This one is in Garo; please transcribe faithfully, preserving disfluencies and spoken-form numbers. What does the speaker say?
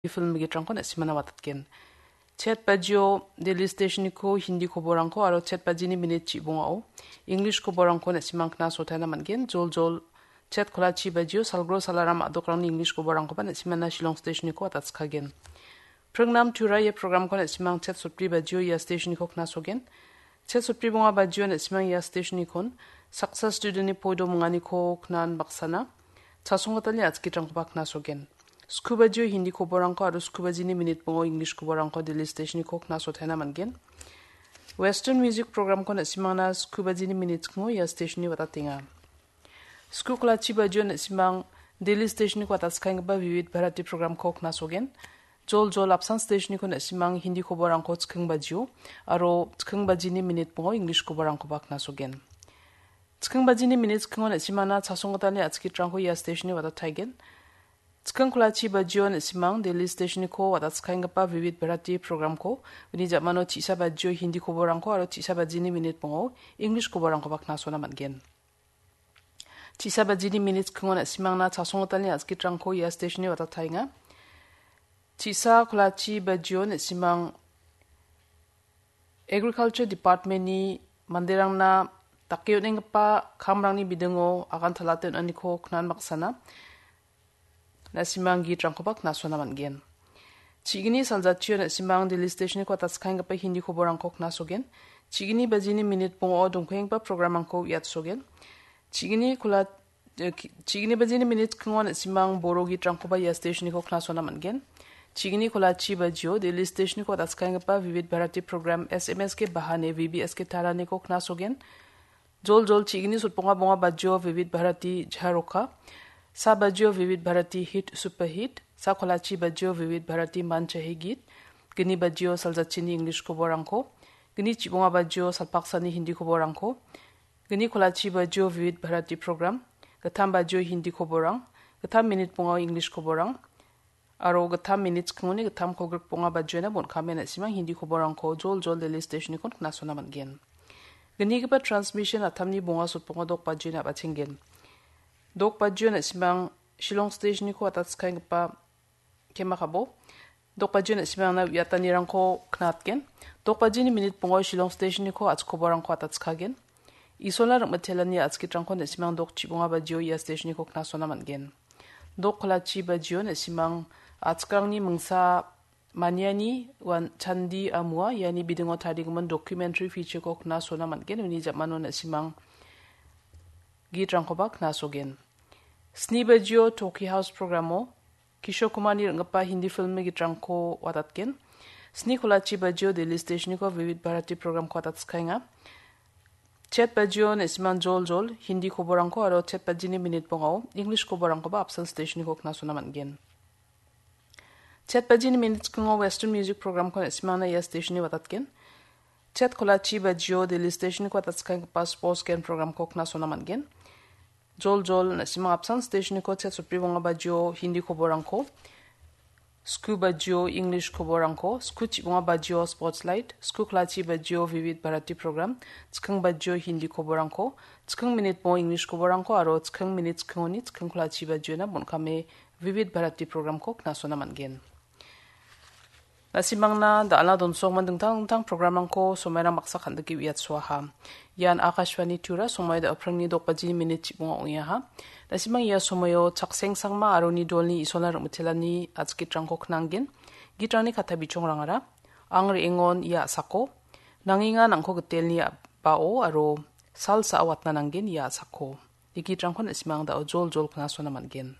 film gitrangko na·simana watatgen. Chet bajio Delhi stationiko Hindi koborangko aro chet bajini minit chibongao English koborangko na·simang knasotaina man·gen. Jol jol chet kolachi bajio Salgro Salaram a·dokrangni English koborangkoba na·simana Shillong stationiko watatskagen. Pringnam Tura ia programko na·simang chet sotbri bajio ia stationiko knasogen. Chet sotbri bonga bajio na·simang ia stationikon saksa studentni poido monganiko knan baksana chasonggitalni atskitrangkoba knasogen. Sku bajio Hindi koborangko aro sku bajini minit bongo English koborangko Delhi stationiko knasotaina man·gen. Western music programko na·simangna sku bajini minit skingo ia stationni watatenga. Sku kolachi bajio na·simang Delhi stationiko watatskaenggipa Vivid Bharati programko knasogen. Jol jol apsan stationiko na·simang Hindi koborangko chiking bajio aro chiking bajini minit bongo English koborangkoba knasogen. Chiking bajini minit chikingo na·simana chasonggitalni atskitrangko ia stationni watataigen. Chiking kolachi bajio na·simang Delhi stationiko watatskaenggipa Vivid Bharati programko uni jamano chisa bajio Hindi koborangko aro chisa bajini minit bongo English koborangkoba knasona man·gen. Chisa bajini minit chikingo na·simangna chasonggitalni atskitrangko ia stationni watataenga. Chisa kolachi bajio na·simang Agriculture Departmentni manderangna dake on·enggipa kamrangni bidingo agan talate on·aniko knan baksana na·simang gitrangkoba knasona man·gen. Chigini saljatchio na·simang Delhi stationiko watatskaenggipa Hindi koborangko knasogen. Chigini bajini minit bongo dongpenggipa programrangko uiatsogen. Chigini kola, eh, ki-, chigini bajini minit chikingo na·simang Boro gitrangkoba ia stationiko knasona man·gen. Chigini kolachi bajio Delhi stationiko watatskaenggipa Vivid Bharati program S M S ke bahane V B S ke taraniko knasogen. Jol jol chigini sotbonga bonga bajio Vivid Bharati Jharoka. Sa bajio Vivid Bharati Hit Super Hit. Sa kolachi bajio Vivid Bharati Man Chahe Geet. Gini bajio saljachini English koborangko. Gini chibonga bajio salpaksani Hindi koborangko. Gini kolachi bajio Vivid Bharati program. Gittam bajio Hindi koborang. Gittam minit bongao English koborang. Aro gittam minit chikingoni gittam kolgrik bonga bajiona bon·kame na·simang Hindi koborangko jol jol Delhi stationiko knasona man·gen. Gnigipa transmission atamni bonga sotbonga dok bajiona a·bachenggen. Dok bajio na·simang Shillong stationiko watatskaenggipa kemakabo. Dok bajio na·simangna uiatanirangko knatgen. Dok bajini minit bongo Shillong stationiko a·chik koborangko watatskagen. Isolna rim·mitelani a·chikitrangko na·simang dok chibonga bajio ia stationiko knasona man·gen. Dok kolachi bajio na·simang a·chikrangni mingsa maniani wan chandi amua iani bidingo tarigimin documentary featureko knasona man·gen. Uni jamano na·simang gitrangkoba knasogen. Sni bajio Toki House programo Kishore Kumarni ring·gipa Hindi filmni gitrangko watatgen. Sni kolachi bajio Delhi stationiko Vivid Bharati programko watatskaenga. Chet bajio na·simang jol jol Hindi koborangko aro chet bajini minit bongao English koborangkoba apsan stationiko knasona man·gen. Chet bajini minit chikingo Western music programko na·simangna ia stationni watatgen. Chet kolachi bajio Delhi stationiko watatskaenggipa sports gen programko knasona man·gen. Jol jol na·simang apsan stationiko chet sotbri bonga bajio Hindi koborangko, sku bajio English koborangko, sku chibonga bajio Sports Light, sku kolachi bajio Vivid Bharati program, chiking bajio Hindi koborangko, chiking minit bongo English koborangko aro chiking minit chikingoni chiking kolachi bajiona bon·kame Vivid Bharati programko knasona man·gen. Na·simangna da·ala donsokman dingtang dingtang programrangko somairang baksa kan·dike uiatsoaha. Ian Akashvani Tura somoi da·oprangni dok bajini minit chibonga ong·eaha. Na·simang ia somoio Chakseng Sangma aro uni dolni Isolna rim·mitelani a·chikitrangko knanggen. Gitrangni katta bichongrangara, Ang re·engon ia a·sako, Nangenga nangko gitelni a-, bao aro Sal sa·a watna nanggen ia a·sako. Ia gitrangko na·simang da·o jol jol knasona man·gen.